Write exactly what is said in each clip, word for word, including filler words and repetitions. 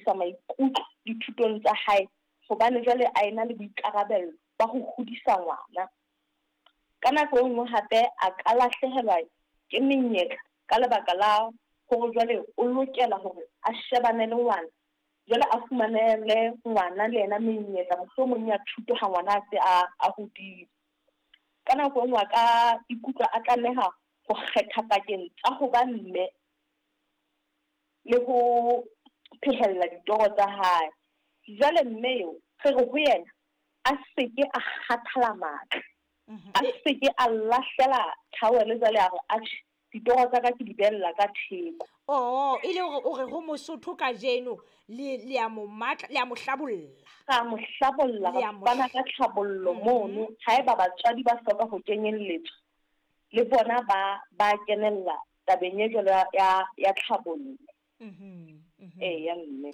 tsepamisa maikutlo dithutong tsa hae hobane jwale a ena le boikarabelo ba ho hodisa ngwana. Ka nako e nngwe hape a ka lahlehelwa ke menyetla ka lebaka la hore jwale o lokela hore a shebane le ngwana, jwale a fumanele ngwana le yena menyetla mohlomong ya thuto ha ngwana a se a a hodile. Ka nako e nngwe a ka ikutlwa a tlameha ho kgetha pakeng tsa ho ba mme le ho phehella ditoro tsa hae. Jwale mme eo re re ho yena a seke a kgathala matla, a seke a lahlela thaole jwale a re atjhe ditoro tsa ka ke di behella ka theko. Oh, e le hore o re ho Mosotho kajeno le le a mo matla, le a mo hlabolla. Ra mo hlabolla, Le ra a mo fana ka tlhabollo mono. Haeba batswadi ba hloka ho kenyelletswa, le bona ba ba kenella tabeng e jwalo ya ya tlhabollo. Mhm. Mhm. Eya mme.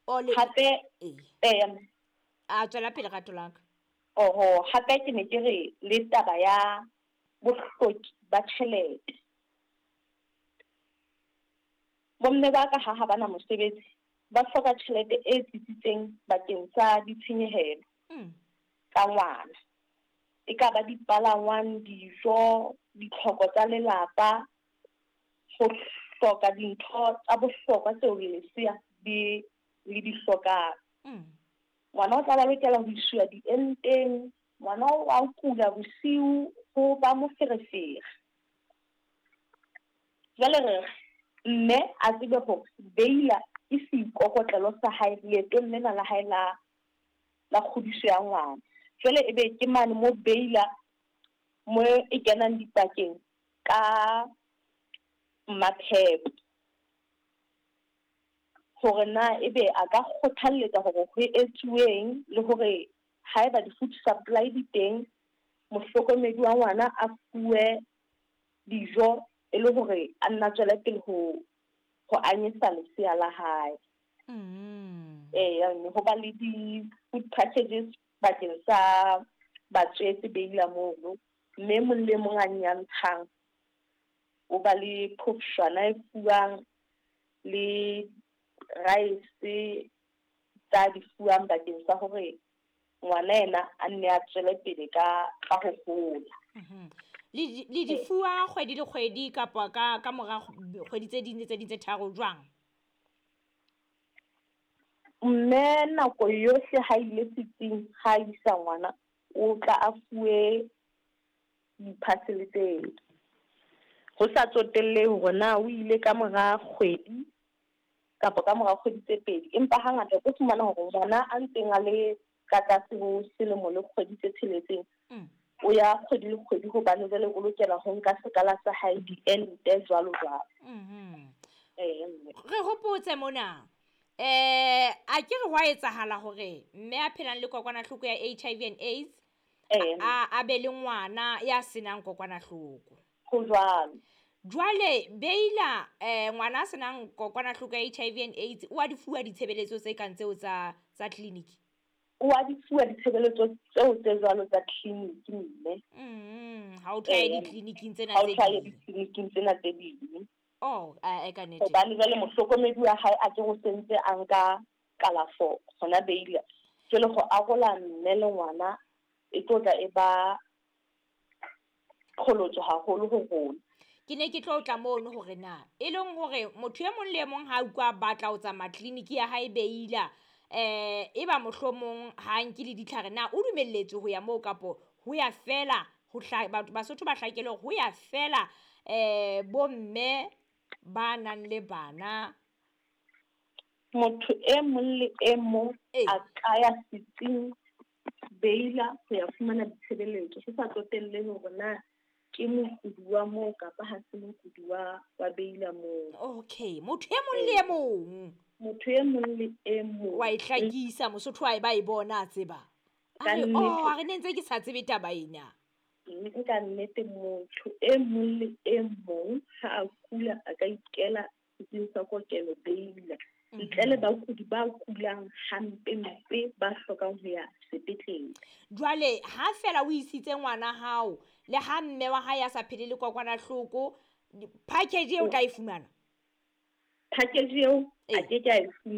O le Hape eh eya mme. A tswela pele rato la ka. Oho, hape ke ne ke re le taba ya bohloki ba tjhelete. Bomme ba ka ha ha bana mosebetsi, ba hloka tjhelete e tsitsitseng bakeng sa ditshenyehelo Mm. tsa ngwana. E ka ba dipalangwang, dijo, ditlhoko tsa lelapa, ho hloka dintho tsa bohlokwa tseo lesea di le di hlokang. Mm. Ngwana o tla ba lokela ho iswa dienteng, ngwana o a kula bosiu ho ba moferefere. Jwale re re mme a tsebe hore Beila ke seikokotlelo sa hae leetong lena la hae la la kgodiso ya ngwana. Jwale ebe ke mane mo Beila mo e kenang dipakeng ka Maphepo. Hore na ebe a ka kgothalletsa hore ho etsuweng le hore haeba di-food supply di teng, mohlokomedi wa ngwana a fuwe dijo e le hore a nna tswele pele ho ho anyesa lesea la hae. Mm. Eya mme ho ba le di-food packages bakeng sa batswetse Beila mono, mme e mong le mong a nyantshang o ba le phofshwana e fuwang le rice tsa di fuwang bakeng sa hore ngwana yena a nne a tswele pele ka ka ho hola. Mhm. Le di le di fuwa kgwedi le kgwedi kapa ka ka mora kgwedi tse ding le tse ding tse tharo jwang? Mme nako yohle ha ile setsing ha isa ngwana, o tla a fuwe di-parcel tseo. Ho sa tsotellehe hore na o ile ka mora kgwedi kapa ka mora kgwedi tse pedi, empa hangata o tlo fumana hore ngwana a ntseng a le ka tlase ho selemo le kgwedi tse tsheletseng, Mm. o ya kgwedi le kgwedi hobane jwale o lokela ho nka sekala sa hae diente jwalo jwalo. Mhm. Eya mme. Re hopotse mona. Eh a ke re hwa etsahala hore mme a phelang le kokwanahloko ya H I V and AIDS Eya. a a be le ngwana ya senang kokwanahloko. Ho jwalo. Jwale Beila eh ngwana a senang kokwanahloko ya H I V and AIDS o a di fuwa ditshebeletso tse kang tseo tsa tsa clinic? O a di fuwa ditshebeletso tseo tse jwalo tsa clinic mme. Mm, ha o tla Eya. ditleliniking tsena Ha o tse tla ding. ditleliniking tsena tse ding. Oh, a e ka nnete. Hobane jwale mohlokomedi wa hae a ke go sentse a nka kalafo hona Beila. Jwale go arola mme le ngwana e tlo tla e ba qholotso haholo ho rona. Ke ne ke tlo tla mono hore na e leng hore motho e mong le e mong ha utlwa batla ho tsamaya tleliniki ya hae Beila eh e ba mohlomong ha nke le ditlhare na o dumelletswe ho ya moo kapo ho ya fela ho hla batho Basotho ba hlakele hore ho ya fela eh bomme ba nang le bana. Motho e mong le e mong Ee. a ka ya setsing Beila ho ya fumana ditshebeletso ho sa tsotellehe hore na ke mokudi wa moo kapa ha se mokudi wa, wa Beila moo. Okay, motho e mong le e mong. Motho e mong le e mong. Wa e hlakisa Mosotho wa e ba e bona a tseba. A Ka re, nnete. oh, a re ne ntse ke sa tsebe taba ena. Mme ka nnete motho e mong le e mong ha a kula a ka ikela setsing sa kokelo Beila. Ntle le bakudi ba kulang hampe-mpe ba hlokang ho ya sepetlele. Jwale ha fela o isitse ngwana hao le ha mme wa hae a sa phele le kokwanahloko, package eo o tla e fumana? Package eo a Ee. ke ke a e fumana.